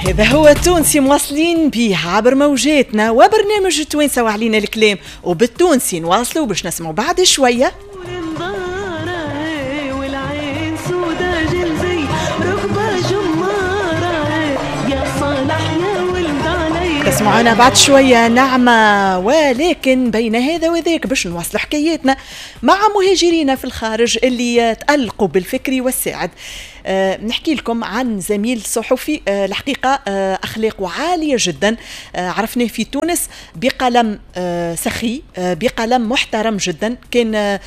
هذا هو التونسي، مواصلين به عبر موجاتنا وبرنامج التوانسة وعلينا الكلام، وبالتونسي نواصلوا باش نسمعوا بعد شوية. تسمعونا بعد شوية نعمة، ولكن بين هذا وذاك باش نواصلوا حكاياتنا مع مهاجرين في الخارج اللي تألقوا بالفكر والساعد. نحكي لكم عن زميل صحفي، الحقيقة أخلاقه عالية جدا، عرفناه في تونس بقلم سخي، بقلم محترم جدا، كان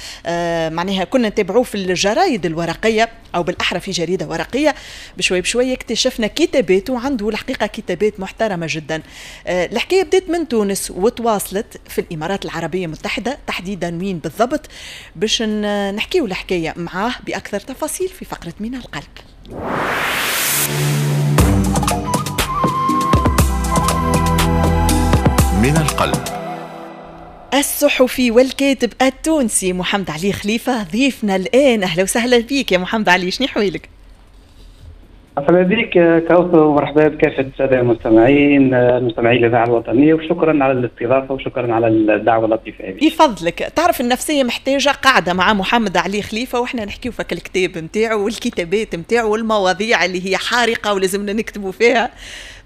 معناها كنا نتابعوه في الجرايد الورقية أو بالأحرى في جريدة ورقية. بشوي بشوي اكتشفنا كتاباته، وعنده الحقيقة كتابات محترمة جدا. الحكاية بدأت من تونس وتواصلت في الإمارات العربية المتحدة، تحديدا وين بالضبط باش نحكيو الحكاية معاه بأكثر تفاصيل في فقرة من القلب. من القلب. الصحفي والكاتب التونسي محمد علي خليفة ضيفنا الآن. أهلا وسهلا بك يا محمد علي، شنو حوالك؟ مرحبا بك كوثر، ومرحبا بكافة السادة المستمعين مستمعي الإذاعة الوطنية، وشكرا على الاستضافة وشكرا على الدعوة اللطيفة هذه. يفضلك. تعرف النفسية محتاجة قاعدة مع محمد علي خليفة، واحنا نحكيو فك الكتاب نتاعو والكتابات نتاعو والمواضيع اللي هي حارقة ولازمنا نكتبوا فيها.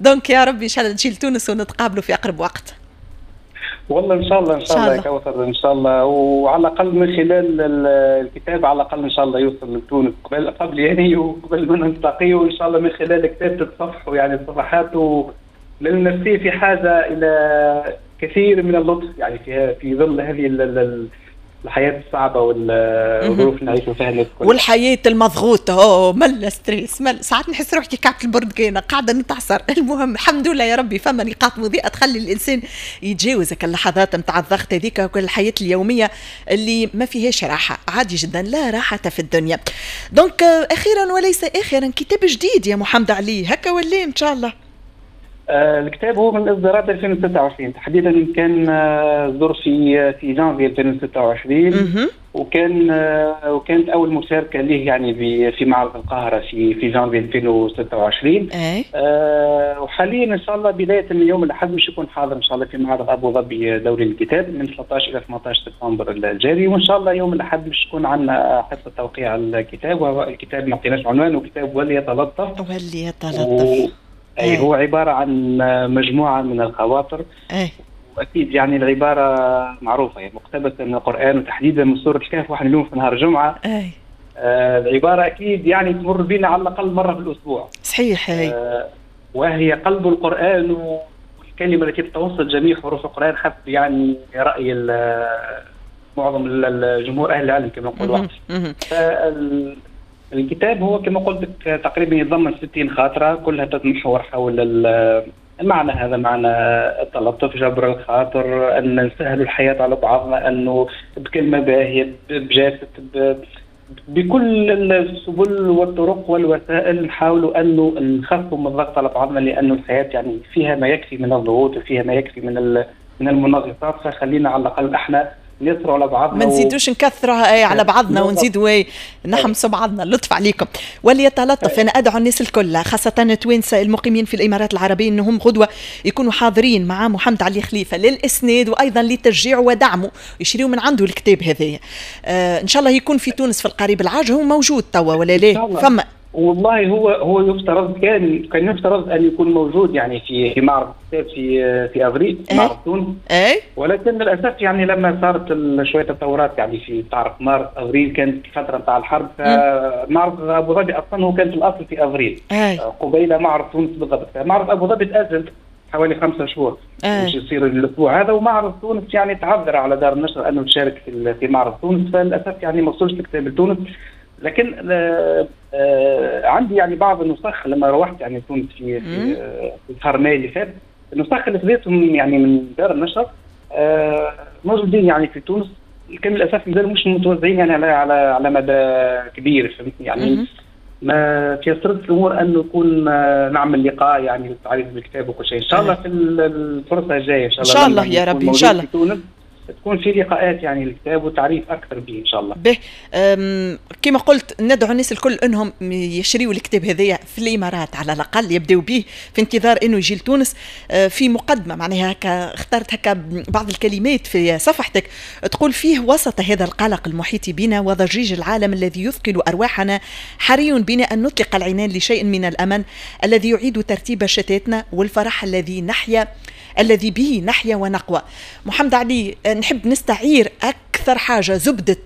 donc يا ربي ان شاء الله تجي لتونس ونتقابلوا في أقرب وقت. والله ان شاء الله، ان شاء الله يا كوثر، ان شاء الله، وعلى الاقل من خلال الكتاب على الاقل ان شاء الله يوصل لتونس قبل يعني وقبل ما نلتقي، وان شاء الله من خلال الكتاب تتصفحوا يعني الصفحات، لان النفسية في حاجة الى كثير من اللطف يعني في ظل هذه الحياة الصعبة والظروف اللي نعيشوا فيها الناس كلها، والحياة المضغوطة. ملا stress، مل ساعات نحس روحي كعبة البرتقانة قاعدة نتعصر. المهم الحمد لله يا ربي فما نقاط مضيئة تخلي الإنسان يتجاوز اللحظات نتاع الضغط هذيك وكل الحياة اليومية اللي ما فيهاش راحة. عادي جدا، لا راحة في الدنيا. donc أخيرا وليس آخرا، كتاب جديد يا محمد علي، هكا ولا إن شاء الله؟ الكتاب هو من اصدارات 2026 تحديدا، كان صدر في جانفي 2026، وكانت اول مشاركة ليه يعني في معرض القاهرة في جانفي 2026. وحاليا ان شاء الله بداية من يوم الاحد مش يكون حاضر ان شاء الله في معرض ابو ظبي دوري الكتاب من 13 الى 18 سبتمبر الجاري، وان شاء الله يوم الاحد مش يكون عندنا حصة توقيع الكتاب، وهو الكتاب ما عطيناش عنوانه، كتاب وليتلطف. وليتلطف أي هو عبارة عن مجموعة من الخواطر. وأكيد يعني العبارة معروفة، يعني مقتبسة من القرآن وتحديدا من سورة الكهف، واحنا اليوم في نهار الجمعة. العبارة أكيد يعني تمر بنا على الأقل مرة في الأسبوع. صحيح. وهي قلب القرآن والكلمة التي تتوسط جميع حروف القرآن حسب يعني رأي معظم الجمهور أهل العلم كما نقولوا. الكتاب هو كما قلت لك تقريبا يتضمن 60 خاطرة كلها تتمحور حول المعنى هذا، معنى التلطف، جبر الخاطر، أن نسهل الحياة على بعضنا، أنه بكلمة باهية، بجاسة، بكل السبل والطرق والوسائل نحاولوا أنه نخففوا من الضغط على بعضنا، لأنه الحياة يعني فيها ما يكفي من الضغوط وفيها ما يكفي من المنغصات، فخلينا على الأقل احنا نيسروا على بعضنا، ما نزيدوش نكثرها على بعضنا ونزيدوا نحمسوا بعضنا. اللطف عليكم وليتلطف. انا ادعو الناس الكل خاصة التوانسة المقيمين في الامارات العربية انهم غدوه يكونوا حاضرين مع محمد علي خليفة للاسناد وايضا لتشجيعه ودعمه، يشريوا من عنده الكتاب هذايا. ان شاء الله يكون في تونس في القريب العاجل. هو موجود توا ولا لا؟ فما والله هو يفترض كان يفترض ان يكون موجود يعني في معرض الكتاب في افريل، معرض تونس. ولكن للاسف يعني لما صارت شوية تطورات يعني في تعرف مارس افريل كانت الفترة نتاع الحرب، فمعرض ابو ظبي اصلا هو كان في الاصل في افريل قبيل معرض تونس بالضبط. معرض ابو ظبي تاجل حوالي 5 شهور باش يصير الاسبوع هذا، ومعرض تونس يعني تعذر على دار النشر انه تشارك في معرض تونس، فللاسف يعني ما وصلش الكتاب لتونس. لكن عندي يعني بعض النسخ لما روحت يعني تونس في شهر ماي اللي فات، النسخ اللي خذيتهم يعني من دار النشر موجودين يعني في تونس، لكن للاسف مازالوا مش متوزعين يعني على مدى كبير، فهمتني يعني. ما تيسرت الامور انه يكون نعمل لقاء يعني للتعريف بالكتاب وكل شيء ان شاء الله في الفرصة الجاية ان شاء الله. ان شاء الله يا ربي، ان شاء الله. تكون في لقاءات يعني الكتاب وتعريف اكثر به ان شاء الله. به كما قلت ندعو الناس الكل انهم يشريوا الكتاب هذايا في الامارات على الاقل، يبداو به في انتظار انه يجي لتونس. في مقدمه معناها هكا اخترت هكا بعض الكلمات في صفحتك تقول فيه: وسط هذا القلق المحيط بنا وضجيج العالم الذي يثقل ارواحنا، حري بنا ان نطلق العنان لشيء من الامل الذي يعيد ترتيب شتاتنا والفرح الذي به نحيا ونقوى. محمد علي، نحب نستعير أكثر حاجة زبدة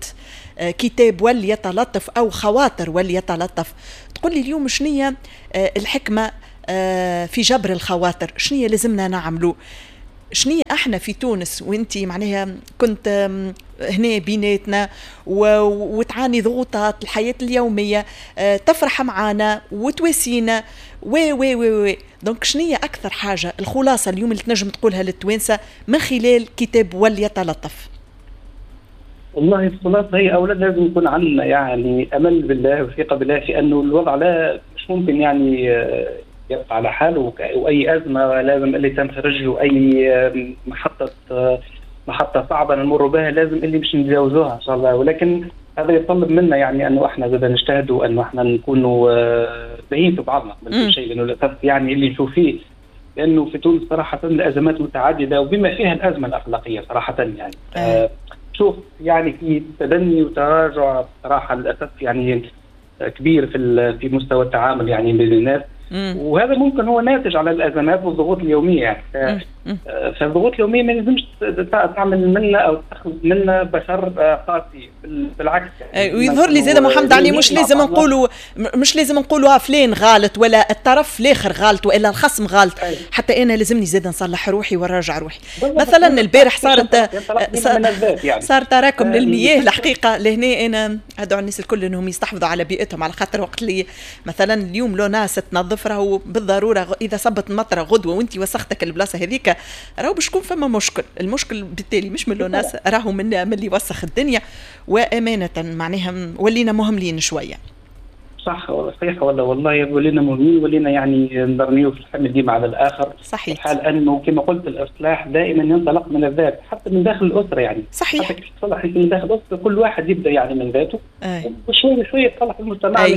كتاب وليتلطف أو خواطر وليتلطف. تقول لي اليوم شنية الحكمة في جبر الخواطر؟ شنية لازمنا نعملو؟ شنية احنا في تونس وانت معناها كنت هنا بيناتنا وتعاني ضغوطات الحياة اليومية، تفرح معانا وتواسينا و و و و donc شنية أكثر حاجة، الخلاصة اليوم اللي تنجم تقولها للتوانسة من خلال كتاب وليتلطف؟ والله الخلاصة هي أولا لازم يكون عندنا يعني أمل بالله وثقة بالله في أنه الوضع لا مش ممكن يعني يبقى على حاله، وأي أزمة لازم اللي تنفرج، وأي محطة صعبة نمر بها لازم اللي باش نتجاوزوها إن شاء الله. ولكن هذا يتطلب منا يعني أنه احنا زاد نجتهدوا، أنه احنا نكونوا باهيين في بعضنا من كل شيء، لأنه للأسف يعني اللي نشوف فيه لأنه في تونس صراحة الأزمات متعددة وبما فيها الأزمة الأخلاقية صراحة يعني. شوف يعني في تدني وتراجع صراحة للأسف يعني كبير في مستوى التعامل يعني بين الناس، وهذا ممكن هو ناتج على الازمات والضغوط اليومية يعني. فالضغوط اليومية ما لازمش تعمل منا او تاخذ منا بشر قاسي، بالعكس يعني. ويظهر لي زاد محمد علي مش لازم نقولوا فلان غلط ولا الطرف الاخر غلط والا الخصم غلط. حتى انا لازمني زاد نصلح روحي ونراجع روحي. مثلا البارح صارت يعني صار تراكم للمياه الحقيقة. لهنا انا ادعو الناس الكل انهم يستحفظوا على بيئتهم، على خاطر وقت اللي مثلا اليوم لو ناس تنظف راهو بالضرورة اذا صبت المطره غدوه وانت وسختك البلاصة هذيك راهو باش يكون فما مشكل. المشكل بالتالي مش من l'ONAS، راهو من اللي وسخ الدنيا. وامانه معناها ولينا مهملين شوية. صح صحيح والله ولينا مهملين، ولينا يعني نرميو في الحمل ديما على الاخر. صحيح. حال انه كما قلت الاصلاح دائما ينطلق من الذات، حتى من داخل الاسرة يعني. صحيح. حتى كيف تصلح من داخل الاسرة كل واحد يبدا يعني من ذاته وشوية شوية يتصلح المجتمع.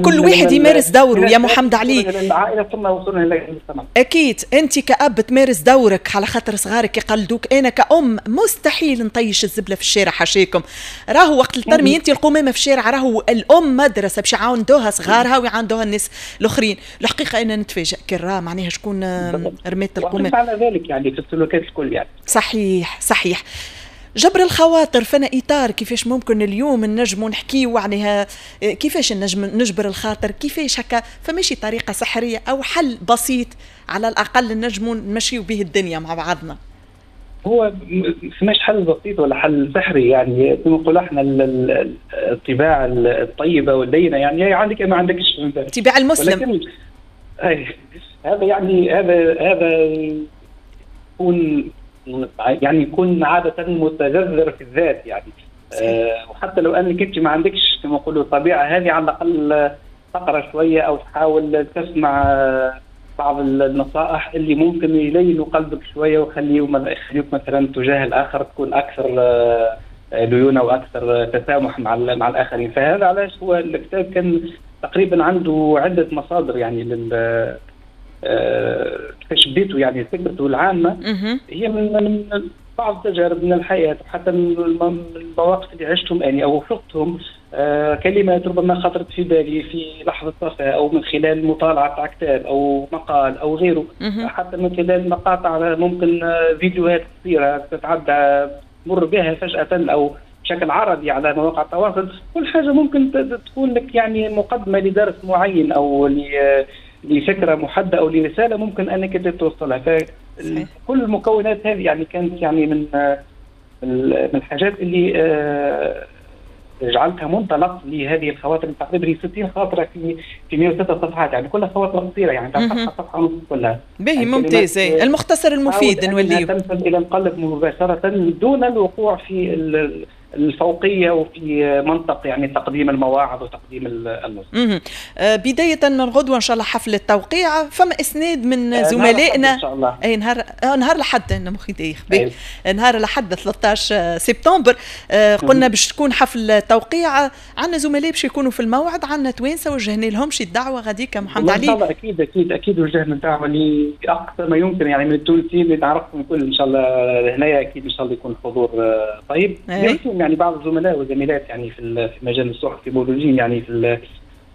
كل واحد يمارس دوره يا محمد علي. العائلة ثم وصلنا الى المجتمع. اكيد انت كأب تمارس دورك على خاطر صغارك يقلدوك. انا كأم مستحيل نطيش الزبله في الشارع، حاشيكم. راهو وقت الترمي انت القمامة في الشارع، راهو الام مدرسه باش يعاندوها صغارها ويعاندوها الناس الاخرين. الحقيقة انا نتفاجئ كي معناها شكون رمات القمامة. على ذلك يعني في السلوكات الكل يعني. صحيح صحيح. جبر الخواطر فانا اطار كيفاش ممكن اليوم نجموا نحكيو عليها، كيفاش نجم نجبر الخاطر، كيفاش هكا، فماشي طريقه سحريه او حل بسيط على الاقل نجموا نمشيو به الدنيا مع بعضنا؟ هو مش حل بسيط ولا حل سحري يعني، كما نقول احنا الطباع الطيبة واللينه يعني عندك ما عندكش طباع المسلم. ولكن هذا يعني هذا يكون يعني يكون عادة متجذر في الذات يعني. وحتى لو انك انت ما عندكش كما نقولوا الطبيعة هذه، على الاقل تقرا شوية او تحاول تسمع بعض النصائح اللي ممكن يلينوا قلبك شوية ويخليوك مثلا تجاه الاخر تكون اكثر ليونه واكثر تسامح مع الاخرين. فهذا علاش هو الكتاب كان تقريبا عنده عده مصادر يعني لل كيفاش بديته يعني فكرته العامة هي من بعض التجارب من الحياة وحتى من المواقف اللي عشتهم يعني او شفتهم، كلمات ربما خطرت في بالي في لحظة صفاء او من خلال مطالعه كتاب او مقال او غيره، حتى من خلال مقاطع ممكن فيديوهات قصيرة تتعدى تمر بها فجاة او بشكل عرضي على مواقع التواصل. كل حاجة ممكن تكون لك يعني مقدمه لدرس معين او لفكرة محددة او لرساله ممكن انك توصلها. فكل المكونات هذه يعني كانت يعني من الحاجات اللي جعلتها منطلق لهذه الخواطر. تقريبا 60 خاطره في 106 صفحات يعني كلها خواطر قصيرة يعني صفحة صفحة ونص كلها. باهي يعني ممتاز، المختصر المفيد نوليه تنفذ الى القلب مباشرة دون الوقوع في الفوقية وفي منطق يعني تقديم المواعظ وتقديم النص. بداية من غدوه ان شاء الله حفل التوقيع، فما اسناد من زملائنا ان شاء الله. اي نهار الأحد، انا مخي دايخ، نهار الأحد 13 سبتمبر قلنا باش تكون حفل توقيع، عندنا زملاء باش يكونوا في الموعد، عندنا توانسة وجهنا لهم شي الدعوة غاديك محمد علي. ان شاء الله اكيد اكيد اكيد وجهنا الدعوة لاقصى ما يمكن يعني من التونسيين اللي نعرفهم الكل ان شاء الله هنايا، اكيد ان شاء الله يكون حضور طيب. يعني بعض الزملاء والزميلات يعني في مجال الصحفي موجودين يعني في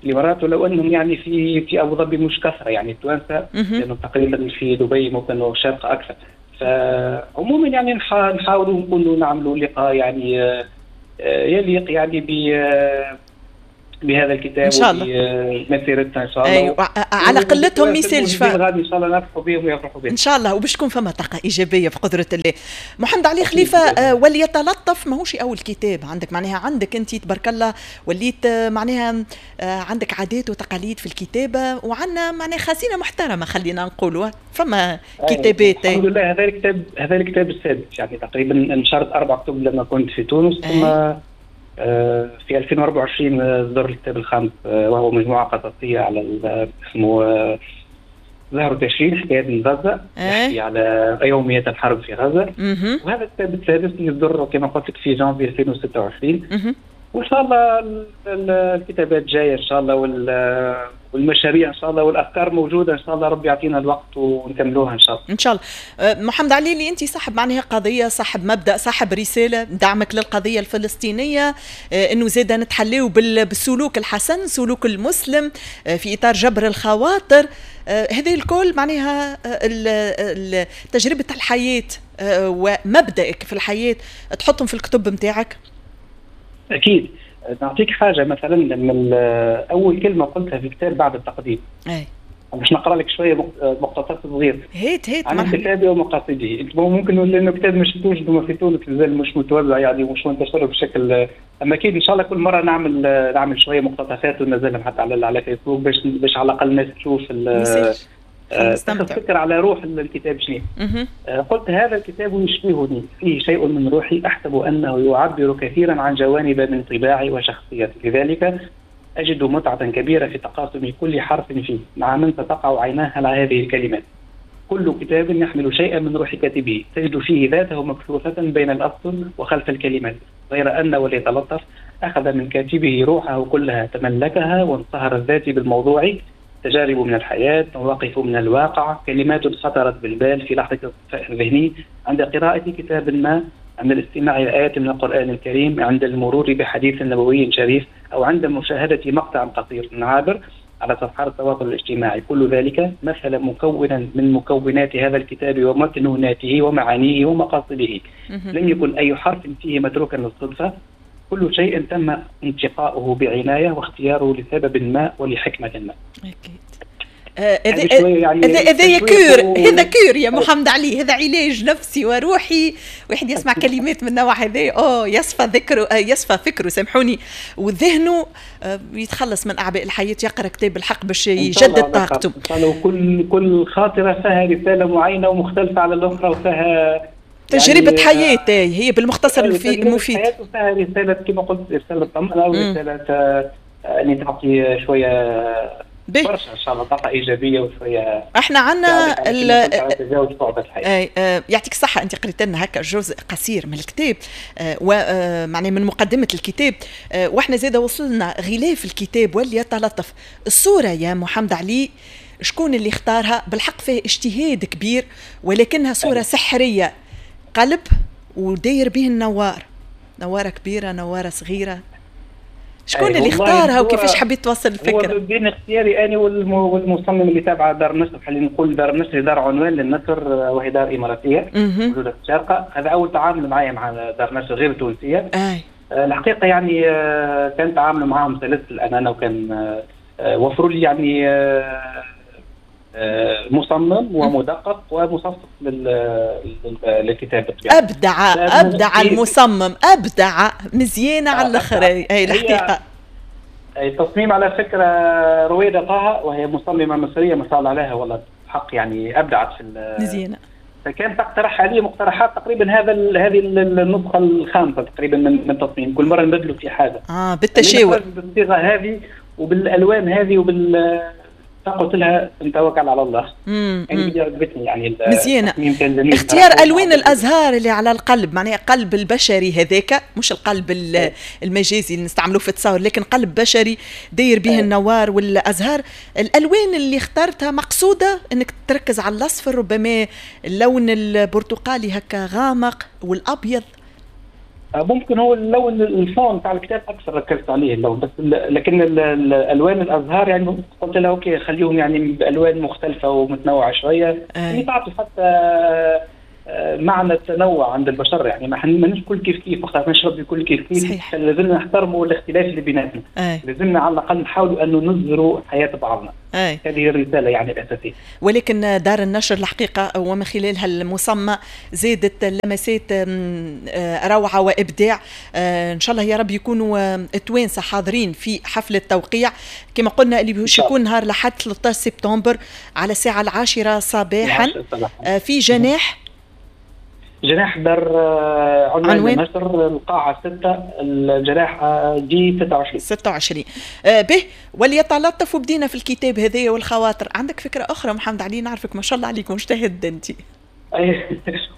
الامارات، ولو انهم يعني في ابو ظبي مش كثرة يعني التوانسة، لانه تقريبا في دبي ممكن والشارقه اكثر. فعموما يعني نحاولوا نكونوا نعملوا لقاء يعني يليق يعني بهذا الكتاب ان شاء الله وبمسيرتنا ان شاء الله. أيوة. على قلتهم ميسالش غادي ان شاء الله نفرحوا بهم ويفرحوا بهم ان شاء الله، وباش تكون فما طاقة ايجابية بقدره الله. محمد علي خليفة، وليتلطف ماهوش اول كتاب عندك، معناها عندك انت تبارك الله وليت معناها عندك عادات وتقاليد في الكتابة، وعندنا معناها خزينة محترمه خلينا نقولوا، فما كتابات. الحمد لله. هذا الكتاب السادس يعني تقريبا، نشرت 4 كتب لما كنت في تونس، ثم في 2024 صدر الكتاب الخامس وهو مجموعة قصصية على اسمه زهر تشرين حكايات من غزة، يحكي على يوميات الحرب في غزة. وهذا الكتاب السادس اللي صدر كما قلت لك في جانفي 2026. وإن شاء الله الكتابات جاية إن شاء الله، والمشاريع إن شاء الله، والأفكار موجودة إن شاء الله، ربي يعطينا الوقت ونكملوها إن شاء الله. إن شاء الله. محمد علي، اللي أنت صاحب معناها قضية، صاحب مبدأ، صاحب رسالة، دعمك للقضية الفلسطينية، أنه زاد نتحليو بالسلوك الحسن، سلوك المسلم في إطار جبر الخواطر، هذه الكل معناها تجربة الحياة ومبدأك في الحياة تحطهم في الكتب متاعك. أكيد. نعطيك حاجة مثلا، لما أول كلمة قلتها في الكتاب بعد التقديم، باش نقرأ لك شوية مقتطف صغير. هات هات عن كتابي ومقاصده. ممكن لأنه كتاب مش شفتوش في تونس، مازال مش متوزع يعني ومش منتشر بشكل، أما أكيد إن شاء الله كل مرة نعمل شوية مقتطفات وننزلهم حتى على فيسبوك باش على الأقل الناس تشوف تاخذ فكرة على روح الكتاب شنو. قلت هذا الكتاب يشبهني، فيه شيء من روحي، أحسب أنه يعبر كثيرا عن جوانب من طباعي وشخصيتي، لذلك أجد متعة كبيرة في تقاسم كل حرف فيه مع من ستقع عيناه على هذه الكلمات. كل كتاب يحمل شيئا من روح كاتبه، تجد فيه ذاته مبثوثة بين الأسطر وخلف الكلمات، غير أن وليتلطف أخذ من كاتبه روحه كلها، تملكها وانصهر الذات بالموضوع، تجارب من الحياة، مواقف من الواقع، كلمات خطرت بالبال في لحظة الصفاء الذهني عند قراءة كتاب ما، عند الاستماع إلى آيات من القرآن الكريم، عند المرور بحديث نبوي شريف، أو عند مشاهدة مقطع قصير عابر على صفحات التواصل الاجتماعي. كل ذلك مثل مكونا من مكونات هذا الكتاب ومكنوناته ومعانيه ومقاصده. لم يكن أي حرف فيه متروكا للصدفة، كل شيء تم انتقاؤه بعناية واختياره لسبب ما ولحكمة ما. أكيد. هذا cure، هذا cure يا محمد علي، هذا علاج نفسي وروحي. واحد يسمع كلمات من النوع هذا يصفى ذكره، يصفى فكرة سامحوني، وذهنه يتخلص من اعباء الحياة، يقرا كتاب الحق باش يجدد طاقته. كل خاطره فيها رسالة معينة ومختلفة على الاخرى، وفيها تجربة يعني حياة هي بالمختصر المفيد. حياة وفيها رسالة كما قلت، رسالة طمأنة ورسالة يعني تعطي شوية برشا ان شاء الله طاقة ايجابية وشوية. احنا عندنا تجاوز صعوبات الحياة. يعطيك الصحة، انت قريت لنا هكا جزء قصير من الكتاب ومعناه من مقدمه الكتاب، واحنا زاده وصلنا غلاف الكتاب وليتلطف. الصورة يا محمد علي شكون اللي اختارها؟ بالحق فيه اجتهاد كبير، ولكنها صوره سحريه، قلب وداير به النوار، نواره كبيرة نواره صغيرة. شكون اللي اختارها وكيفاش حبيت توصل الفكرة؟ هو بين اختياري انا والمصمم اللي تابع دار النشر، خلينا نقول دار النشر دار عنوان للنشر، وهي دار اماراتيه موجودة في الشارقة. هذا اول تعامل معايا مع دار نشر غير تونسية. الحقيقة يعني كان تعامل معاهم سلس الامانة، وكان وفروا لي يعني مصمم ومدقق ومصفف للكتابة. أبدع المصمم، أبدع، مزيانة على الآخر. هي الحقيقة التصميم على فكرة رويدة طه، وهي مصممة مصرية ما شاء الله عليها، والله حق يعني أبدعت في مزيانة فكان تقترح عليه مقترحات تقريبا هذه النسخة الخامسة تقريبا من التصميم، كل مرة نبدلوا في حاجة بالتشاور بالصيغه هذه وبالالوان هذه فقلت لها نتوكل على الله. يعني عجبتني يعني مزيانه اختيار الوان الازهار اللي على القلب، معناها قلب البشري هذاك، مش القلب المجازي اللي نستعملوه في التصاور، لكن قلب بشري داير به النوار والازهار. الالوان اللي اخترتها مقصوده انك تركز على الاصفر، ربما اللون البرتقالي هكا غامق والابيض. ممكن هو اللون ال fond تاع الكتاب اكثر ركزت عليه اللون، بس لكن الالوان الازهار يعني قلت لها OK خليهم يعني بالوان مختلفة ومتنوعة شوية، يعني تعطي حتى معنى التنوع عند البشر، يعني ما مانيش كل كيف كيف، وقت نشرب الكل كيف كيف، لازمنا نحترموا الاختلاف اللي بيناتنا، لازمنا على الاقل نحاولوا انه نظهروا حياة بعضنا. هذه الرسالة يعني الاساسية. ولكن دار النشر الحقيقة ومن خلالها المصممه زادت لمسات روعه وابداع. ان شاء الله يا رب يكونوا التوانسة حاضرين في حفل التوقيع كما قلنا اللي باش يكون نهار الاحد 13 سبتمبر على الساعة 10 صباحا في جناح دار عنوان النشر، القاعة 6، الجناح جي 26. به وليتلطف. وبدينا في الكتاب هذايا والخواطر. عندك فكرة أخرى محمد علي؟ نعرفك ما شاء الله عليك مجتهد أنت.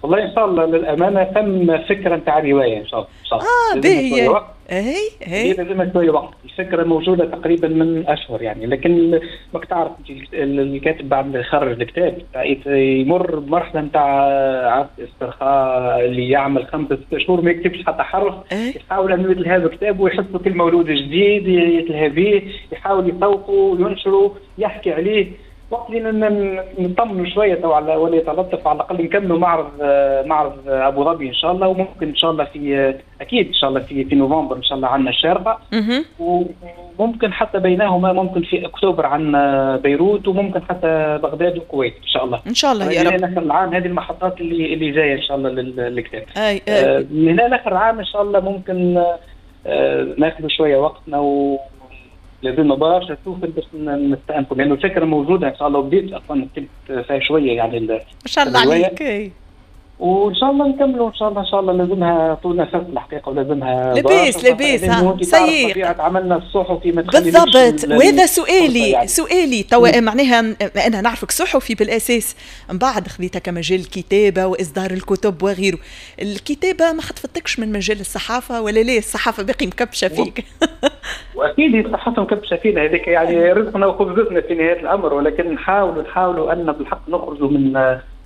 والله إن شاء الله للأمانة ثم فكرة نتاع رواية إن شاء الله. إن شاء الله. باهي. هي لازمها شوية وقت، الفكرة موجودة تقريبا من أشهر يعني، لكن ماك تعرف الكاتب بعد ما يخرج الكتاب يمر بمرحلة نتاع استرخاء اللي يعمل 5-6 شهور ما يكتبش حتى حرف، يحاول أنه يتلهى بكتابه ويحسه كل مولود جديد يتلهى به، يحاول يسوقه وينشره يحكي عليه. وقت اللي نطمنوا شوية تو على ولا يتلطف على الاقل نكملوا معرض ابو ظبي ان شاء الله، وممكن ان شاء الله في اكيد ان شاء الله في نوفمبر ان شاء الله عندنا الشارقة، وممكن حتى بينهما ممكن في اكتوبر عندنا بيروت، وممكن حتى بغداد والكويت ان شاء الله. ان شاء الله يا رب. من اخر العام هذه المحطات اللي جاية ان شاء الله للكتاب. من هنا لاخر العام ان شاء الله ممكن ناخذ شوية وقتنا و لازمنا برشا سوفل باش نستأنفوا، لأنه الفكرة موجودة إن شاء الله، وبديت أصلا كتبت فيها شوية يعني. ما شاء الله عليك. وإن شاء الله نكملوا إن شاء الله. إن شاء الله لازمها طول نفس الحقيقة، ولازمها لباس لباس سيء. طبيعة عملنا الصحفي ما بالضبط. وهذا سؤالي يعني. سؤالي توا معناها أنا نعرفك صحفي بالأساس، من بعد خذيتها كمجال الكتابة وإصدار الكتب وغيره. الكتابة ما خطفتكش من مجال الصحافة ولا ليه؟ الصحافة باقي مكبشة فيك. واكيد الصحافة مكبشه فينا، هذيك يعني رزقنا وخبزتنا في نهاية الامر، ولكن نحاولوا ان بالحق نخرجوا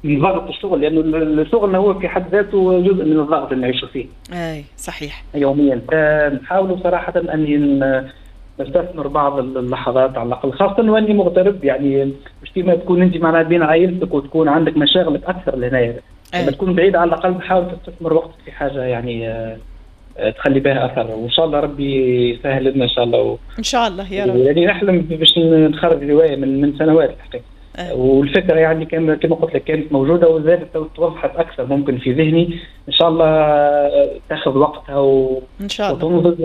من ضغط الشغل، لانه شغلنا هو في حد ذاته جزء من الضغط اللي نعيشوا فيه. اي صحيح. يوميا نحاولوا صراحة ان نستثمر بعض اللحظات على الاقل، خاصة واني مغترب، يعني مش كيما تكون انت معناها بين عائلتك وتكون عندك مشاغلك اكثر لهنا. لما تكون بعيد على الاقل تحاول تستثمر وقتك في حاجة يعني تخلي بها اثر، وان شاء الله ربي يسهل لنا ان شاء الله. ان شاء الله يا رب. يعني نحلم باش نخرج رواية من سنوات الحقيقة. والفكرة يعني كما قلت لك كانت موجودة وزادت توضحت اكثر ممكن في ذهني. ان شاء الله تاخذ وقتها ان شاء الله وتنضج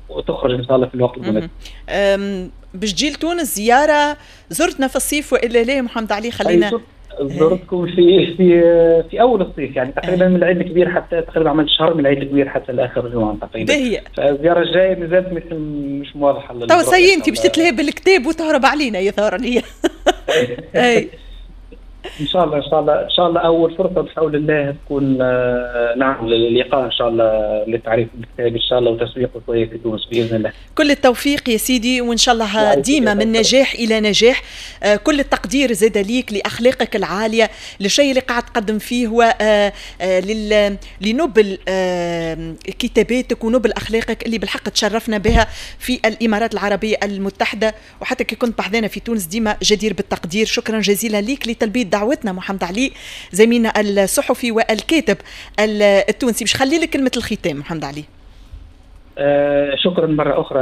وتخرج ان شاء الله في الوقت المناسب. باش تجي لتونس زيارة، زرتنا في الصيف والا لا محمد علي؟ خلينا زرتكم في في في اول الصيف يعني تقريبا من العيد الكبير حتى تقريبا عملت شهر من العيد الكبير حتى لاخر جوان تقريبا. فالزياره الجاية مازالت مش واضحة. تو سي انت باش تتلهي بالكتاب وتهرب علينا يظهر لي. اي ان شاء الله ان شاء الله ان شاء الله اول فرصة بحول الله تكون نعمل اللقاء ان شاء الله للتعريف بالكتاب ان شاء الله وتسويقه شوية في تونس باذن الله. كل التوفيق يا سيدي، وان شاء الله ديما من نجاح الى نجاح. كل التقدير زاد ليك لاخلاقك العالية، للشيء اللي قاعد تقدم فيه هو لنبل كتاباتك ونبل اخلاقك اللي بالحق تشرفنا بها في الامارات العربية المتحدة، وحتى كي كنت بحذانا في تونس ديما جدير بالتقدير. شكرا جزيلا ليك لتلبية دعوتنا محمد علي، زميلنا الصحفي والكاتب التونسي. باش خلي لك كلمة الختام محمد علي. شكرا مرة أخرى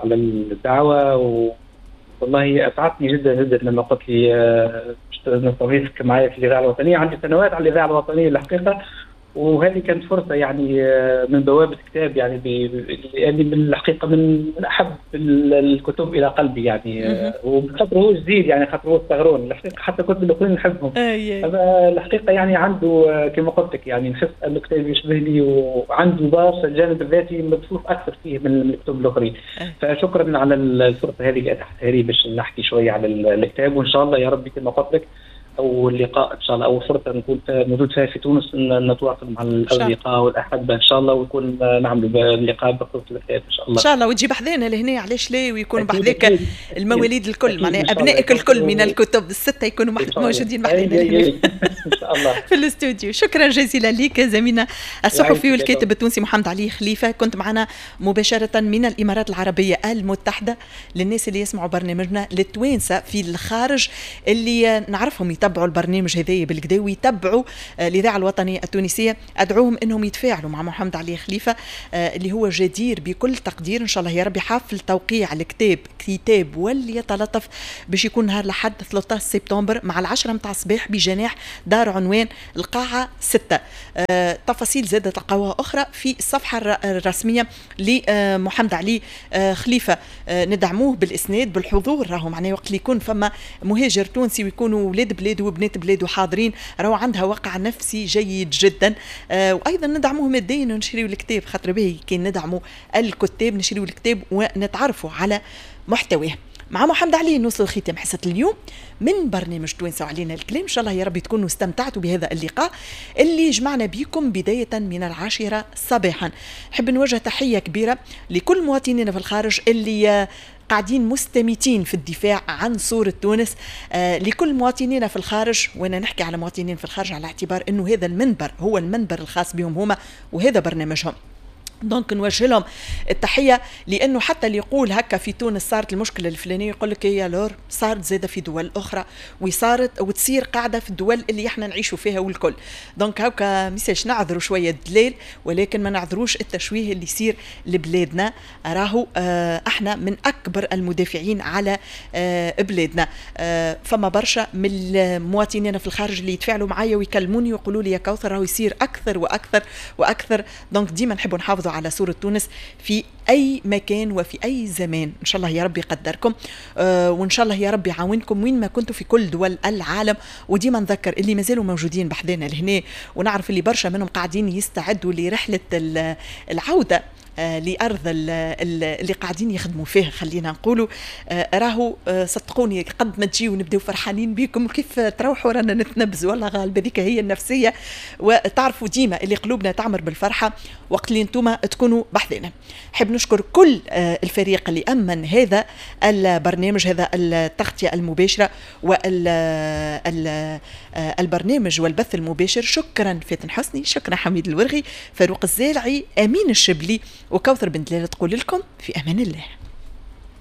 على الدعوة، والله أسعدتني جدا جدا لما قلت لي نستضيفك معايا في الإذاعة الوطنية. عندي سنوات على الإذاعة الوطنية الحقيقة، وهذه كانت فرصة يعني من بوابه كتاب، يعني لاني من الحقيقة من احب الكتب الى قلبي يعني، وخاطر هو جديد يعني، خاطر هو الصغرون الحقيقة، حتى الكتب الاخرين نحبهم. الحقيقة يعني عنده كما قلت لك يعني نحس انه كتاب يشبه لي، وعنده برشا الجانب الذاتي مبثوث اكثر فيه من الكتب الاخرين. فشكرا على الفرصة هذه اللي اتحتها لي باش نحكي شوية على الكتاب، وان شاء الله يا ربي كما قلت لك أول لقاء إن شاء الله، أول فرصة نكون موجود فيها في تونس نتواصل مع الأصدقاء والأحبة إن شاء الله، ويكون نعمل لقاء بخصوص الكتاب إن شاء الله. إن شاء الله، وتجيب حذانا لهنا، علاش لا، ويكون بحذاك المواليد الكل، معناها أبنائك الكل من الكتب الستة يكونوا موجودين بحذانا إن شاء الله في الاستوديو. شكرا جزيلا لك زميلنا الصحفي والكاتب التونسي محمد علي خليفة، كنت معنا مباشرة من الإمارات العربية المتحدة. للناس اللي يسمعوا برنامجنا، للتوانسة في الخارج اللي نعرفهم يتبعوا البرنامج هذايا بالكدا ويتبعوا الاذاعة الوطنية التونسية، ادعوهم انهم يتفاعلوا مع محمد علي خليفة اللي هو جدير بكل تقدير. ان شاء الله يا ربي حفل توقيع الكتاب كتاب وليتلطف باش يكون نهار لحد 13 سبتمبر مع 10 متاع الصباح بجناح دار عنوان القاعة 6. تفاصيل زادة تلقاوها اخرى في الصفحة الرسمية لمحمد علي خليفة. ندعموه بالاسناد بالحضور، راهو معناه وقت اللي يكون فما مهاجر تونسي ويكونوا ولاد بلاد وبنات بلاده حاضرين، راهو عندها وقع نفسي جيد جدا. وايضا ندعموه ماديا ونشريو الكتاب، خاطر باهي كي ندعموا الكتاب نشريو الكتاب ونتعرفوا على محتواه. مع محمد علي نوصل لختام حصة اليوم من برنامج توانسة وعلينا الكلام. إن شاء الله يا ربي تكونوا استمتعتوا بهذا اللقاء اللي جمعنا بكم بداية من 10 صباحا. نحب نوجه تحية كبيرة لكل مواطنينا في الخارج اللي قاعدين مستميتين في الدفاع عن صورة تونس، لكل مواطنينا في الخارج، وانا نحكي على مواطنين في الخارج على اعتبار انه هذا المنبر هو المنبر الخاص بهم هما وهذا برنامجهم. donc نوجه لهم التحية، لانه حتى اللي يقول هكا في تونس صارت المشكلة الفلانية يقول لك يا لور صارت زاده في دول اخرى، وصارت وتصير قاعدة في الدول اللي احنا نعيشوا فيها والكل. donc هكا ميساش نعذروا شوية الدلال، ولكن ما نعذروش التشويه اللي يصير لبلادنا. راهو احنا من اكبر المدافعين على بلادنا. فما برشا من المواطنين في الخارج اللي يتفاعلوا معايا ويكلموني ويقولوا لي يا كوثر راهو يصير اكثر واكثر واكثر. donc ديما نحبوا نحافظوا على صورة تونس في أي مكان وفي أي زمان. إن شاء الله يا ربي يقدركم، وإن شاء الله يا ربي يعاونكم وين ما كنتوا في كل دول العالم. وديما نذكر اللي مازالوا موجودين بحذانا لهنا، ونعرف اللي برشا منهم قاعدين يستعدوا لرحلة العودة لأرض اللي قاعدين يخدموا فيها، خلينا نقولوا راهو صدقوني قد ما تجيو ونبداو فرحانين بكم كيف تروحوا رانا نتنبزوا، والله غالب هذيك هي النفسية. وتعرفوا ديما اللي قلوبنا تعمر بالفرحة وقت اللي انتم تكونوا بحذنا. حب نشكر كل الفريق اللي أمن هذا البرنامج، هذا التغطية المباشرة والبرنامج والبث المباشر. شكرا فاتن حسني، شكرا حميد الورغي، فاروق الزالعي، أمين الشبلي، وكوثر بن دلال تقول لكم في أمان الله.